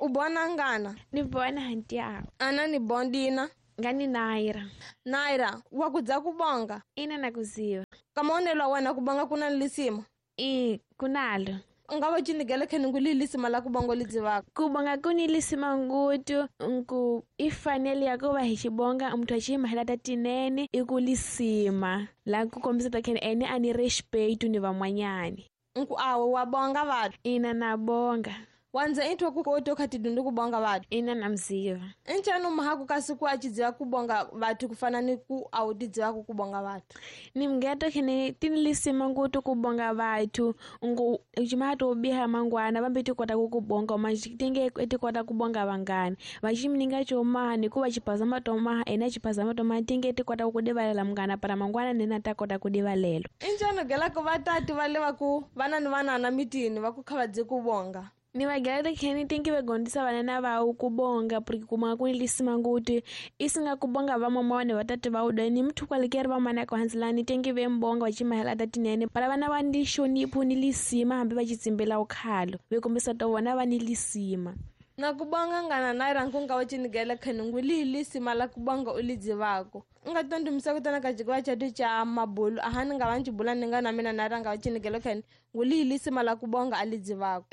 U bona ngana? Ni bona hantiawo. Ana ni bondina. Ngani Naira. Naira, wa kudza kubonga? Ina nakuziva. Kamaonelo wena kubonga kuna lisima? I kunalo. Nga cinigele kheni ngu lisima la kubonga lidzivaka? Kubonga kuni lisima ngutu nku ifanele ya kuva hi xibonga muthu a xi ta tinene i ku lisima la ku kombisa ta kheni ene a ni respeto ni van'wanyani. Nku awe wa bonga vathu? Ina na bonga. Wanza intwa ku koto kha tidundu kubonga vathu? Ina na mziva. Ncanu mahaku kasi ku achidziva kubonga vathu kufana ni ku awutidzivaku kubonga vathu? Ni mngeto khene tinilisima ngutu kubonga vathu ngu uchimato ubiha mangwana vambe tikota kukubonga umatinge tikota kubonga vangani vachimininga chomaha nikuva chiphazama tomaha ene chiphazama tomaha tinge tikota kukudivalela mungana para mangwana nena takota kudivalelo. Incanu gelako vatati vale vaku vana ni vanana mitini vaku kha vadzi kubonga? Ni vagaleta kheni tingi vegondisa vanana vawu kubonga porque kumanga kunilisima nguti isinga kubonga vamama ni vatati vauda ni muthu kwalikeri vamana kuhanzilani tingi vembonga vachimahela tatinene para vana va ni xonipho ni lisima hambi va chitsimbela ukhalo vekombisa to vona va ni lisima. Na kubonga ngana Naira nkunga wa chinigela kheni ngu lisima la kubonga ulidzivako. Nga tondumisa kutana ka jikuwa chatu cha mabulu ahani nga vanchibula ninga na mina Naira nga wa chinigela kheni ngu lisima la kubonga alidzivako.